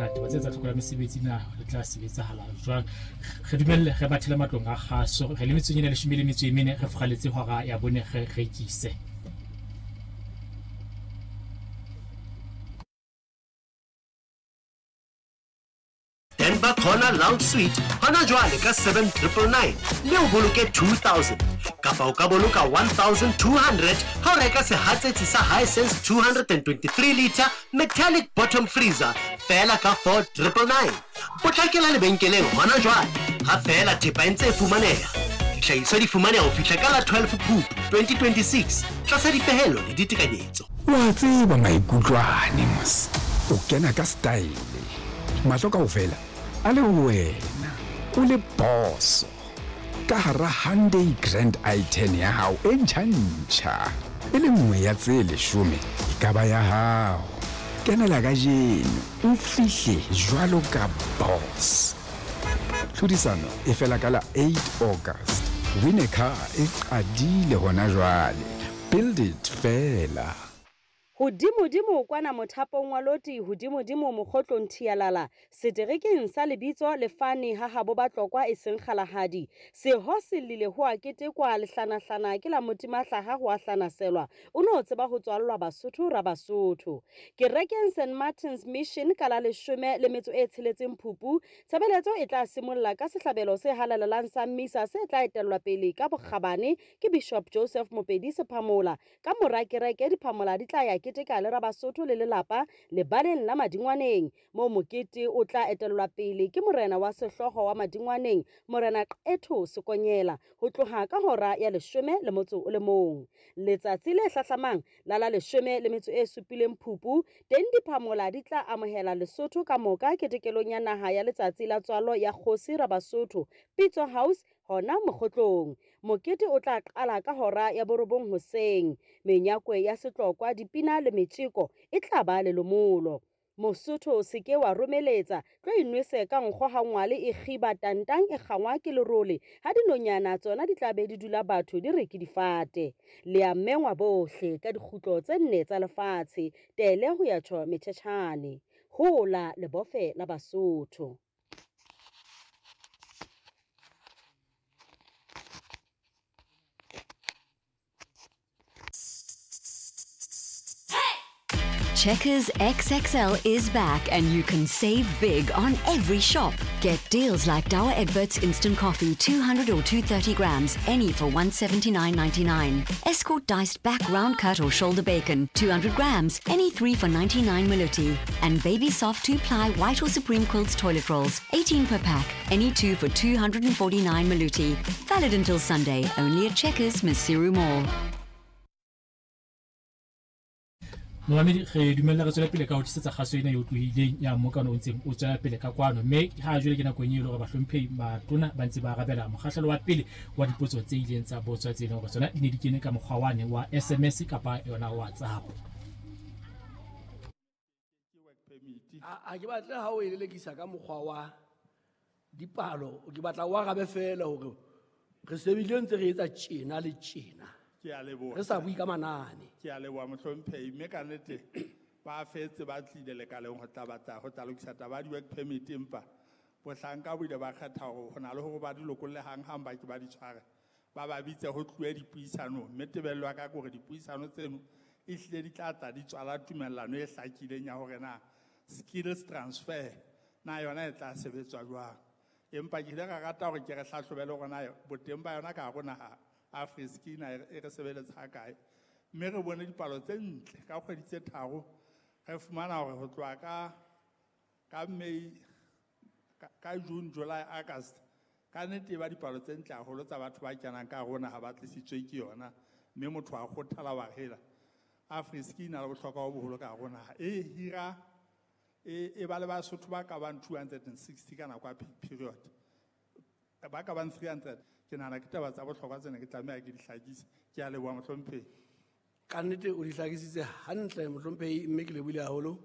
na taba tse tsa tlhoko la mesebetsi na re tla sebetsahala jwang. Re dumelle re bathele matlong a kgaso, re le metsotsong ena 14, re furaletse hora ya 4 re rekise. Denver Corner Lounge Suite hona jwale ka 7999 mme o boloke 2000 kapa o ka boloka 1200 ha o reka sehatsetsi sa Hisense 223 liter metallic bottom freezer feela ka 4999. Potlakela lebenkeleng hona jwale ha feela thepa e ntse e fumaneha. Dihlahiswa di fumaneha ho fihla ka la 12 Phupu 2026 tlasa dipehelo le ditekanyetso. Wa tseba maikutlo ane mos, o kena ka style, mahlo kaofela a le ho wena, o le boso ka hara Hyundai Grand i10 ya hao e ntjha-ntjha. E le nngwe ya tse 10 e ka ba ya hao. Kenela kajeno o fihle jwalo ka boss. Tlhodisano e fela ka la 8 August. Win a car e qadile hona jwale. Build it fela. Hodimodimo kwana mothapong wa loti, hodimodimo mokgotlong thialala, seterekeng sa lebitso le fane ha habo Batlokwa e seng Kgalagadi. Seho se llile ho a ketekwa, lehlanahlana ke la motimahlaha ho a hlanaselwa, o no tseba ho tswallwa Basotho ra Basotho. Kerekeng St Martin's Mission ka la 16 Phupu, tshebeletso e tla simolla ka sehlabelo se halalelang sa misa se tla etellwa pele ka bokgabane ke Bishop Joseph Mopedi Sephamola. Ka mora kereke diphamola di tla ya keteka le Rabasotho le lelapa lebaleng la Madingwaneng, moo mokete o tla etellwa pele ke morena wa sehlooho wa Madingwaneng, Morena Qetho Sekonyela, ho tloha ka hora ya 11. Letsatsi le hlahlamang la la 17 Phupu, teng diphamola di tla amohela Lesotho ka moka ketekelong ya naha ya letsatsi la tswalo ya kgosi Rabasotho, Pitso House, hona mokgotlong. Mokete o tla qala ka hora ya 9 hoseng. Menyakwe ya setlokwa, dipina le metjeko e tla ba lelomolo. Mosotho o se ke wa romeletsa, tlo inwese ka nkgo ha ngwale e kgiba tantang e kgangwa ke lerole, ha dinonyana tsona di tla be di dula batho di re ke difate. Le a mengwa bohle ka dikgutlo tse 4 tsa lefatshe, tele ho ya tjho metjhetjhane. Hola lebofe la Basotho. Checkers XXL is back and you can save big on every shop. Get deals like Douwe Egberts Instant Coffee 200 or 230 grams, any for 179.99. Escort diced back round cut or shoulder bacon, 200 grams, any 3 for 99 Maluti. And Baby Soft 2-ply white or Supreme Quilts toilet rolls, 18 per pack, any 2 for 249 Maluti. Valid until Sunday, only at Checkers, Maseru Mall. Momamedi, re dumella re tswele pele ka ho tlisetsa kgaso ena e otlohileng ya mmokano o ntseng o tswela pele ka kwano, mme ha jwale ke nakong e le hore bahlomphehi matona ba ntse ba arabela mokgahlelo wa pele wa dipotso tse ileng tsa botswa tse leng hore tsona di ne di kene ka mokgwa wane wa SMS kapa yona WhatsApp. A ke batle ha o e lelekisa ka mokgwa wa dipalo, ke batla o arabe feela hore re sebedile ntse re etsa tjena le tjena. Ke a leboha. Re sa bue ka manane. Ke a leboha mohlomphehi, mme ka nnete ba fetse ba tlile lekaleng ho tla batla ho tla lokisa taba ya di-work permit, empa bohlanka bo ile ba kgetha hore ho na le hore ba di lokolle hang-hang ba ke ba di tshware, ba ba bitse ho tluwe dipuisanong. Mme tebello ya ka ke hore dipuisano tseno ehlile di tla tla di tswala tumellano e hlakileng ya hore na skills transfer na yona e tla sebetswa jwang. Empa ke ile ka rata hore ke re hlahlobe le hore na boteng ba yona ka hare ho naha Afriskina e re sebeletsa ha kae. Mme re bone dipalo tse ntle ka kgwedi tse 3, re fumana hore ho tloha ka May, ka June, July, August, ka nnete e ba dipalo tse ntle haholo tsa batho ba kenang ka hare ho naha ba tlisitswe ke yona, mme motho a kgothala wa hela. Afriskina le bohlokwa bo boholo ka hare ho naha. E hira, e ba le Basotho ba ka bang 260 ka nako ya peak period. Ba ka bang 300. Ke nahana ke taba tsa bohlokwa tsena ke tlameha ke di hlakise. Ke a leboha mohlomphehi. Ka nnete o di hlakisitse hantle mohlomphehi, mme ke lebohile haholo.